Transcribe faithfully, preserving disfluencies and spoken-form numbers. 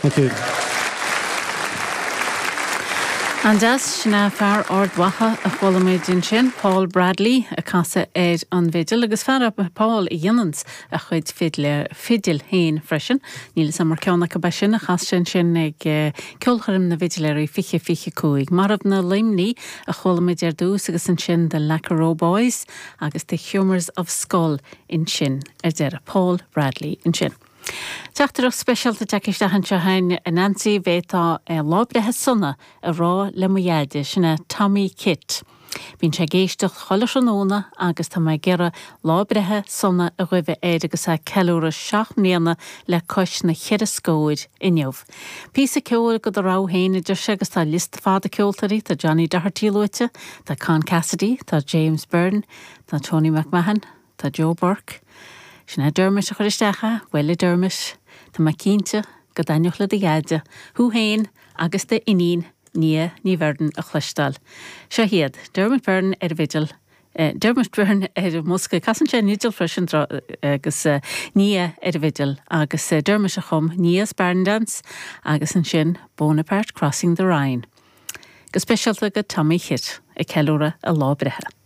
Thank you. An-deas sin é fear Ard Mhacha a chuala muid ansin, Paul Bradley ag casadh ar an bhfidil agus fear Paul a dhéananns a chuid fidle fidil féin freisin. Níl sam mar ceann acu sin a chas sin sin ag eh, ceolchoirm na bhfidiléirí fiche fiche cúig. Marbhna Luimnigh a chuala muid ar dtús agus ansin the Lackeroe Boys agus the Humours of Skull ansin ar deireadh Paul Bradley ansin. Teachtaireacht speisialta tagtha isteach anseo chugainn a Nancy b'fhéidir lá breithe sona a rá le mo dheaide sin é Tommy Kitt. Bíonn sé ag éisteacht chuile thráthnóna agus tá mé ag iarraidh lá breithe sona a ghuí air agus é ag ceiliúradh seacht mbliana le cois na cheithre scóir inniu. Píosa ceoil de do rogha féin a deir sé agus tá liosta fada ceoltóirí tá Johnny Doherty luaite, tá Con Cassidy, tá James Byrne, tá Tony McMahon, tá Joe Burke. Sin é Dermot a chuir isteach é, bhuel Dermot, Tá mé cinnte go dtaitneodh le do dheaide, thú féin agus d'iníon Nia Ní Bheirn a chloisteáil. Seo iad Dermot Byrne ar bhfidil, eh, Dermot Byrne ar an mbosca casann sé an fhidil freisin agus uh, Nia ar an bhfidil agus uh, Dermot a chum Nia's Barn Dance agus ansin Bonaparte Crossing the Rhine. Go speisialta go Tommy Kitt ag ceiliúradh a lá breithe.